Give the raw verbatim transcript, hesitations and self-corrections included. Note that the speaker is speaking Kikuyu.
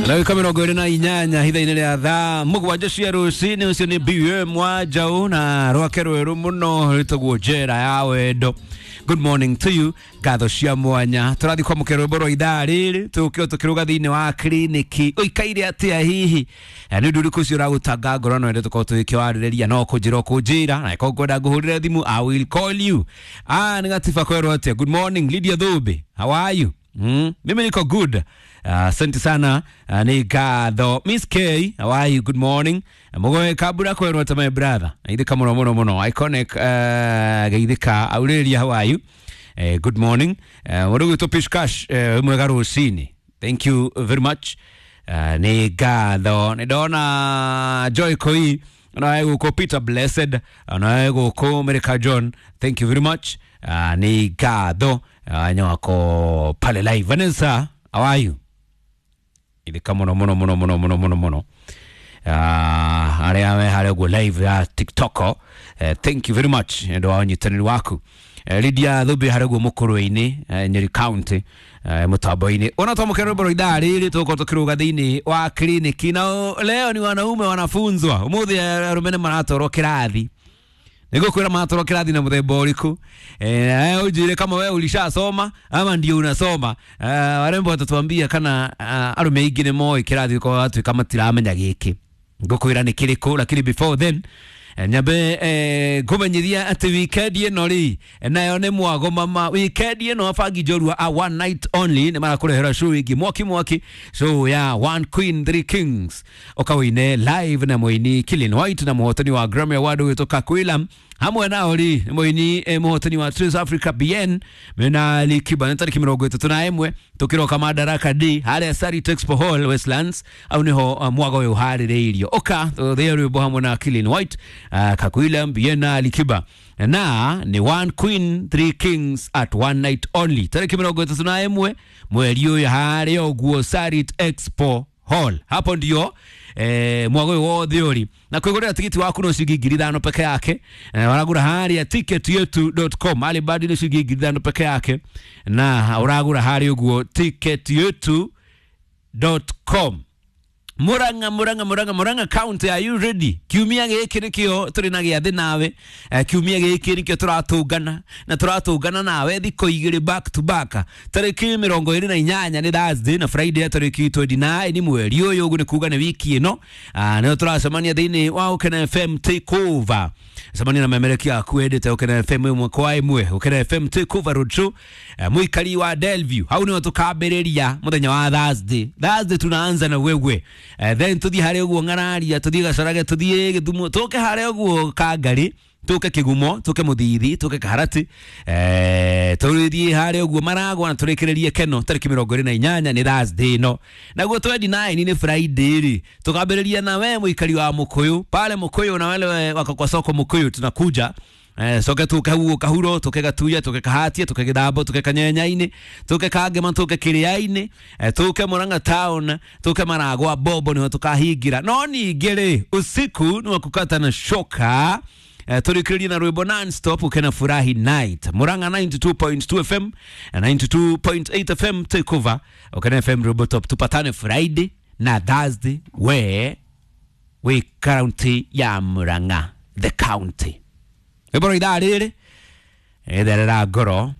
Ndagĩka mĩrongo ĩrĩ na inyanya hitha-inĩ rĩa thaa mũgwanja cia rũcinĩ. Ũcio nĩ B M wa Njaũ na rwake rwerũ mũno rwĩtagwo Njera ya Wendo. Good morning to you. Ngatho cia mwanya. Tũrathiĩ kwamũkĩra rwĩmbo rwa ithaa rĩrĩ, tũkĩo tũkĩrũga thĩinĩ wa kliniki. Ũikaire atĩa hihi? Eh, nĩ ũndũ ũrĩkũ ũcio ũragũtanga ngoro no ende tũkorwo tũgĩkĩwarĩrĩria? No kũnjĩra ũkũnjĩra, na ĩkorwo ngwenda ngũhũrĩre thimũ, I will call you. Ah, nĩ gatiba kwerwo atĩa? Good morning, Lydia Thumbi, how are you? Mm, mimi niko good. Asante uh, sana. Uh, ni ngatho. Miss K, how are you? Good morning. Mugoe kabura kwerwo ta my brother. Geithĩka mũno mũno mũno. Iconic, uh, geithĩka. Aurelia, how are you? Uh, good morning. Uh, mũndũ gwĩtwo Pishkash, uh, mwega rũcinĩ. Thank you very much. Uh, nĩ ngatho. Nĩ ndona Joy Koi, nawe gũkũ Peter Blessed, nawe gũkũ America John. Thank you very much. Uh, nĩ ngatho. Uh, wako pale live. Vanessa, how are you? Ithika mũno mũno mũno mũno mũno mũno mũno. Uh, arĩa me harĩa ũguo live ya TikTok, uh, thank you very much nĩ ũndũ wa ũnyitanĩri waku. uh, Lydia Thumbi harĩa ũguo mũkũrũ-inĩ, uh, Nyeri County, uh, mũtambo-inĩ ona twamũkĩra rwĩmbo rwa ithaa rĩrĩ, tũgũkorwo tũkĩrũga thĩinĩ wa kliniki. Na leo ni wanaume wanafunzwa. Ũmũthĩ arũme nĩ maratwarwo kĩrathi. Nĩngũkwĩra maratwarwo kĩrathi na mũthemba ũrĩkũ. Eh, ũnjĩre kama we ulishasoma ama ndio unasoma. Eh, warembo watatuambia kana uh, arũme aingĩ nĩ moĩ kĩrathi kwa watuĩka matiramenya gĩkĩ. Ngũkwĩra nĩ kĩrĩkũ, lakini before then, eh, nyambe eh, ngũmenyithia atĩ weekend ĩno rĩ nayo nĩ mwago mama. Weekend ĩno abangi njorua a one night only nĩ marakũrehera show ĩngĩ mwaki mwaki, show ya One Queen Three Kings, ũkawĩine live na mũini Killian White na mũhotani wa Grammy Award ũgĩtwo Kakwila. Hamwe nao rĩ nĩ mũini eh, mũhotani wa Trace Africa B N mena Ali Kiba. Nĩ tarĩki mĩrongo ĩtatũ na ĩmwe tũkĩroka Madaraka Day harĩa Sarit Expo Hall, Westlands. Au nĩho uh, mwago ũyũ ũharĩrĩirio. Ũka tũthĩe rwĩmbo hamwe na Killian White, uh, Kakwila, B N na Ali Kiba, na ni One Queen Three Kings at one night only, tarĩki mĩrongo ĩtatũ na ĩmwe mweri ũyũ harĩa ũguo Sarit Expo Hall. Hapo ndio eh, mwago ũyũ wothe ũri. Na kwĩgũrĩra tigiti waku no ciringi ngiri ithano peke yake. eh, waragũra harĩa ticket yetu dot com. Alibadi nĩ ciringi ngiri ithano peke yake, na ũragũra harĩa ũguo ticket yetu dot com. Murang'a, Murang'a, Murang'a, Murang'a County, are you ready? Kiumia gĩkĩ nĩkĩo tũrĩ na gĩathĩ nawe. eh, kiumia gĩkĩ nĩkĩo tũratũngana na tũratũngana nawe thikũ igĩrĩ back to back. Tarĩki mĩrongo ĩrĩ na inyanya nĩ Thursday na Friday ya tarĩki mĩrongo ĩrĩ na kenda nĩ mweri ũyũ, ũguo nĩ kuga nĩ wiki ĩno. Ah, nĩyo tũracemania thĩinĩ wa Ũkena F M Takeover. Cemania na memereki aku endete Ũkena F M ĩmwe kwa ĩmwe. Ũkena F M Takeover Roadshow. eh, mũikari wa Delview, hau nĩho tũkambĩrĩria mũthenya wa Thursday. Thursday tunaanza na wewe. eh, then tuthiĩ harĩa ũguo Ng'araria, tuthiĩ Gacarage, tuthiĩ Gĩthumo, tũke harĩa ũguo Kangari, tuke Kigumo, tuke Muthithi, tuke Kaharati, eh, tũthiĩ harĩa ũguo Maragwa na tũrĩkĩrĩrie Keno tarĩki mĩrongo ĩrĩ na inyanya nĩ Thursday ĩno. Naguo mĩrongo ĩrĩ na kenda nĩ Friday rĩ, tũkambĩrĩria na we mũikari wa Mũkũyũ pale Mũkũyũ, na wale wako kwa soko Mũkũyũ tunakuja. Eh, coke tuke hau Kahuro, tuke Gatuya, tuke Kahatia, tuke Githambo, tuke Kanyenyainĩ, tuke Kangema, tuke Kĩrĩa-inĩ, eh, tuke Murang'a town, tuke Maragwa Bobo nĩho tũkahingira. No ningĩ rĩ, usiku nĩ wa kukata na shoka, eh, tũrĩkĩrĩrie na rwĩmbo non-stop Ukena Furahi Night. Murang'a ninety-two point two F M na ninety-two point eight F M Takeover, Ukena F M rwĩmbo top. Tupatane Friday na Thursday we wĩ county ya Murang'a, the county. Rwĩmbo rwa ithaa rĩrĩ ĩtherera ngoro.